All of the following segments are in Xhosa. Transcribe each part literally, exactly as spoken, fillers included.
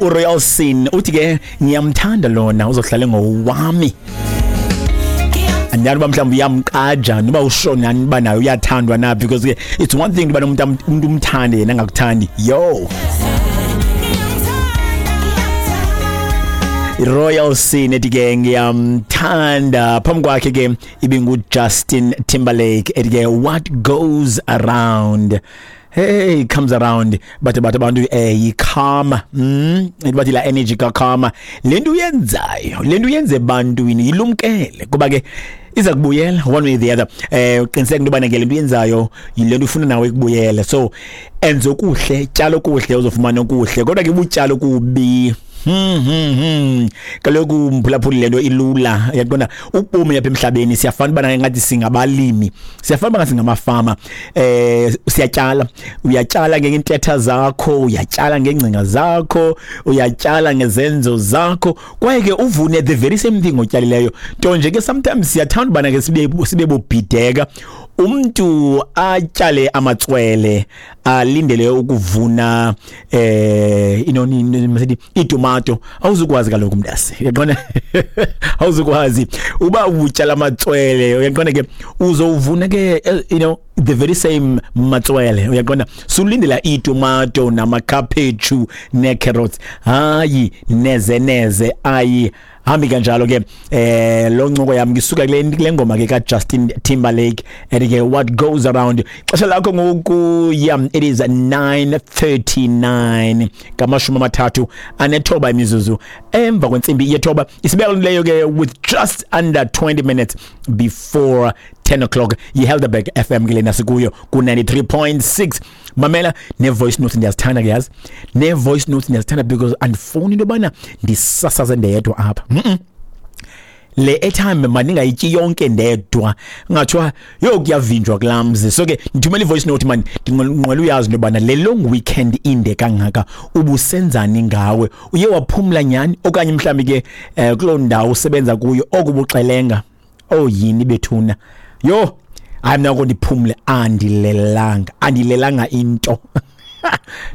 uRoyal Sin uthi ke ngiyamthanda lona, uzohlala ngowami. Andiyani uba mhlawumbi uyamqaja noba ushonani uba naye uyathandwa na, because ke it's one thing uba umuntu umuntu umthande yena angakuthandi. Yo, Royal Sin ethi ke ngiyamthanda. Phambi kwakhe ke ibingu Justin Timberlake ethi ke "What Goes Around, hey, comes around." But but abantu eh yikarma, mm bathi la energy ka karma, lento uyenzayo, lento uyenze ebantwini, ilumkele kuba ke iza kubuyela one way or the other. eh uqiniseke into bana ke lento uyenzayo yilento ufuna nawe ikubuyele. So enze okuhle, tyala okuhle, uzofumana okuhle. Kodwa ke ubutyala kubi, Hmm hmm hmm kaloku mphulaphuli, lento ilula, uyaqonda? Ubomi apha emhlabeni siyafana bana ngathi singabalimi, siyafana bana singamafama. eh siyatyala uyatyala ngeentetha zakho, uyatyala ngengcinga zakho, uyatyala ngezenzo zakho, kwaye ke uvune the very same thing otyalileyo. Nto nje ke sometimes siyathanda ubana ke sibe sibe bobhideka. Umuntu atyale amatswele, alindele ukuvuna eh inoni, masithi itomato. Awuzukwazi kaloku mntase, uyaqonda? Awuzukwazi uba utyala amatswele, uyaqonda ke, uzowuvuna ke eh, you know the very same matswele, uyaqonda? Sulindela itomato namakhaphetshu nee-carrots. Hayi, neze neze, ayi hambi kanjalo ke. eh lo ncoko yami ngisuka kule kule ngoma ke ka Justin Timberlake ethi ke "What Goes Around". Xesha lakho ngoku, yeah, it is nine thirty-nine, ngamashumi amathathu anethoba imizuzu emva kwentsimbi yethoba. Isibeka leyo ke with just under twenty minutes before ten o'clock. Yi-Helderberg F M ke lena sikuyo ku ninety-three point six. Mamela, ne-voice notes ndiyazithanda ke, yazi, ne-voice notes ndiyazithanda because andifuni into yobana ndisasaze ndedwa apha. mm -mm. Le airtime mandingayityi yonke ndedwa, ngathiwa yo kuyavinjwa kulaa mzi. So ke ndithumela i-voice note man, ndinqwela uyazi into yobana le long weekend inde kangaka ubusenzani ngawe. Uye waphumla nyhani, okanye mhlawumbi ke um kuloo ndawo usebenza kuyo okubuxelenga? Oh, yini bethuna? Yho, hayi, mna ko ndiphumle, andilelanga, andilelanga into.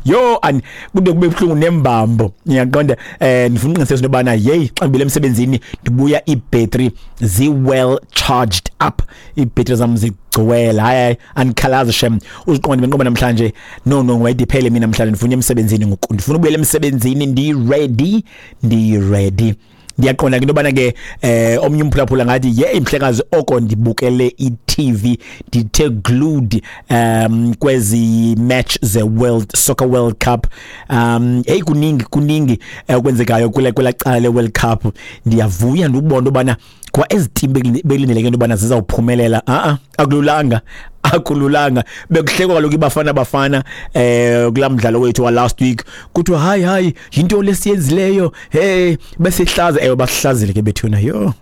Yo, and kude kube buhlungu nembambo, ngiyaqonda. eh ndifuna uqiniseka into yobana hey, xa ngibile emsebenzini ndibuya iibhetri zi-well charged up, iibhetri zam zigcwele. Hayi hayi, andikhalazi shem. Uziqonde benqoba namhlanje, no no wayidiphele mina namhlanje, ndifuna emsebenzini ngoku, ndifuna ubuyela emsebenzini ndi-ready, ndi-ready. Ndiyaqonda ke into yobana ke eh omnye umphulaphula ngathi, "Ye mhlekazi, oko ndibukele i-T V, ndithe glued um kwezi match ze World Soccer World Cup." um hey kuningi kuningi okwenzekayo kule kwela cala le World Cup. Ndiyavuya ndubona into yobana kwa ezi team bekulindeleke into yobana zizawuphumelela, a-a, akululanga, akululanga. Bekuhlekwa kaloku iBafana Bafana eh kulaa mdlalo wethu wa last week, kuthiwa hayi hayi, yinto lesiyenzileyo, hey, besihlaza. Ewe, basihlazile ke bethuna. Yho,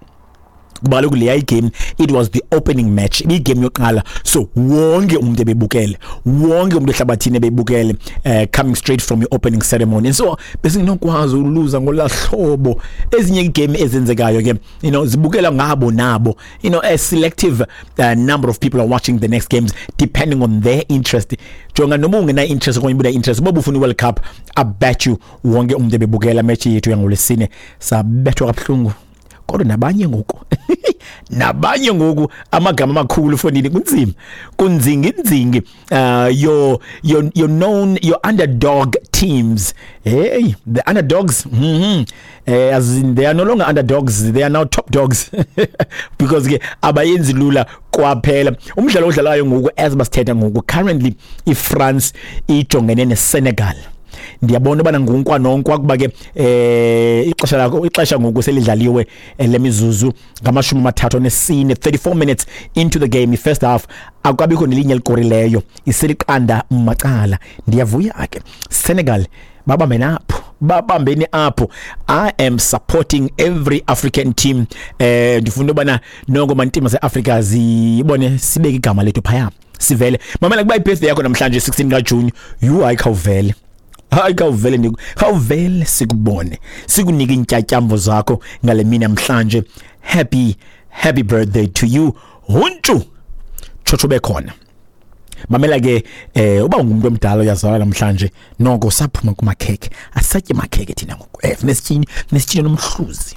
kuba kaloku leya igame, it was the opening match, ibiyigame yokuqala, so wonke umuntu ebebukele, wonke umuntu ehlabathini ebebukele, uh, coming straight from your opening ceremony, and so besingenokwazi uluza ngolaa hlobo. Ezinye igame ezenzekayo ke, you know zibukela ngabo nabo, you know a selective uh, number of people are watching the next games depending on their interest. Jonga, noma ungena interest okanye ubuna interest, uba ufuna i-World Cup, I bet you wonke umuntu ebebukela match yethu yangoLwesine. Sabethwa kabuhlungu, kodwa nabanye ngoku nabanye ngoku amagama amakhulu fondini, kunzima, kunzingi nzingi. uh your your your known, your underdog teams, hey, the underdogs, mhm eh as in they are no longer underdogs, they are now top dogs, because ke abayenzi lula kwaphela. Umdlalo odlalayo ngoku, as basithetha ngoku, currently iFrance ijongene neSenegal. Ndiyabona ubana ngunkwa nonkwa, kuba ke eh ixesha lakho, ixesha ngoku selidlaliwe eh, lemizuzu ngamashumi amathathu anesine, thirty-four minutes into the game, first half, akukabikho nelinye elikorileyo, iseliqanda macala. Ndiyavuya ke, Senegal babambe napho, babambeni apho. I am supporting every African team. eh ndifuna ubana noko mantima seAfrica zibone, sibeke igama lethu phaya, sivele. Mamela, kuba ibirthday yakho namhlanje, sixteen kaJune, you, hayi, khawuvele, hayi, khawuvele, ndiku khawuvele sikubone, sikunike iintyatyambo zakho ngale mini namhlanje. Happy, happy birthday to you. Huntshu tshotsho bekhona. Mamela ke, eh uba ungumuntu omdala uyazalwa namhlanje, noko saphuma kumakhekhe, asatye makhekhe thina ngoku. Eh sinesitshini, sinesitshini nomhluzi.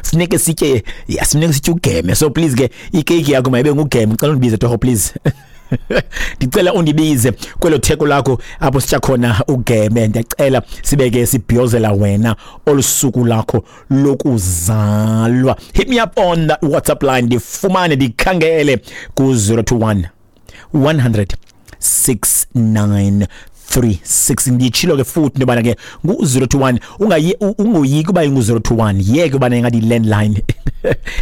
Sineke sitye, sineke sitye ugeme. So please ke, ikeki yakho mayibe ngugeme. Ngicela undibize torho please. Ndicela undibize kwelo theko lakho apho sitya khona ugeme. Ndiyacela sibeke sibhiyozela wena olusuku lakho lokuzalwa. Hit me up on that WhatsApp line, ndifumane ndikhangele ku zero two one one hundred six nine three six. Nditshilo ke futhi into yobana ke ngu zero two one, ungayi, ungoyiki uba ingu zero two one, yeke ubana ingathi landline.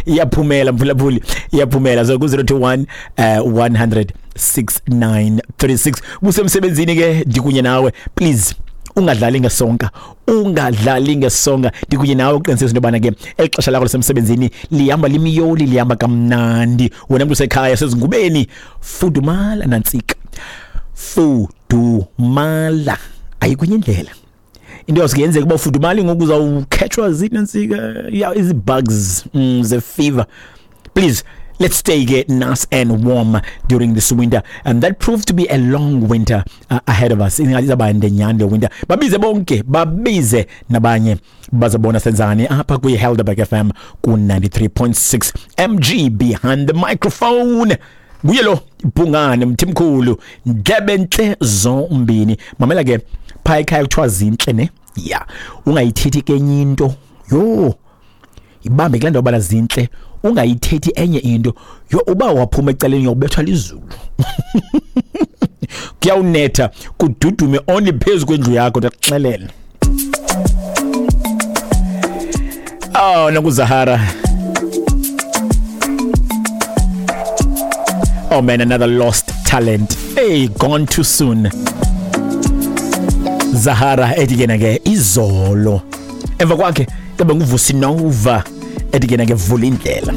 Iyaphumela mphulaphuli, iyaphumela. So ku zero two one, uh, one hundred six nine three six. Kusemsebenzini ke ndikunye nawe, please ungadlali ngesonka, ungadlali ngesonka. Ndikunye nawe uqinisekise into yobana ke eli xesha lakho lasemsebenzini lihamba limiyoli, lihamba kamnandi. Wena mntu usekhaya sezingubeni, fudumala nantsika, fudumala, ayikho indlela. Into yosiyenzeka uba ufudumali ngoku uzawukhetshwa zinantsika, yeah, izi-bugs, mm, ze-fever. Please, let's stay get nice and warm during this winter. And that proved to be a long winter, uh, ahead of us. Ingathi izawuba nde nyhani le winter. Babize bonke, babize nabanye, bazobona senzani apha kwi-Helderberg F M ku ninety-three point six. M G behind the microphone. Nguye lo Bhungane Mthimkhulu, ndlebe ntle zombini. Mamela ke, phaa ekhaya kuthiwa zintle ne? Yeah. Ungayithethi ke enye into. Yho. Ibambe kule ndawo bala zintle, ungayithethi enye into. Yho, uba waphuma ecaleni uyobethwa lizulu. Kuyawunetha kududume only phezu kwendlu yakho, ndakuxelela. Oh, nakuZahara. Oh man, another lost talent. Hey, gone too soon. Zahara ethi ke ke izolo. Emva kwakhe kabe nguVusi Nova ethi ke ke vula indlela.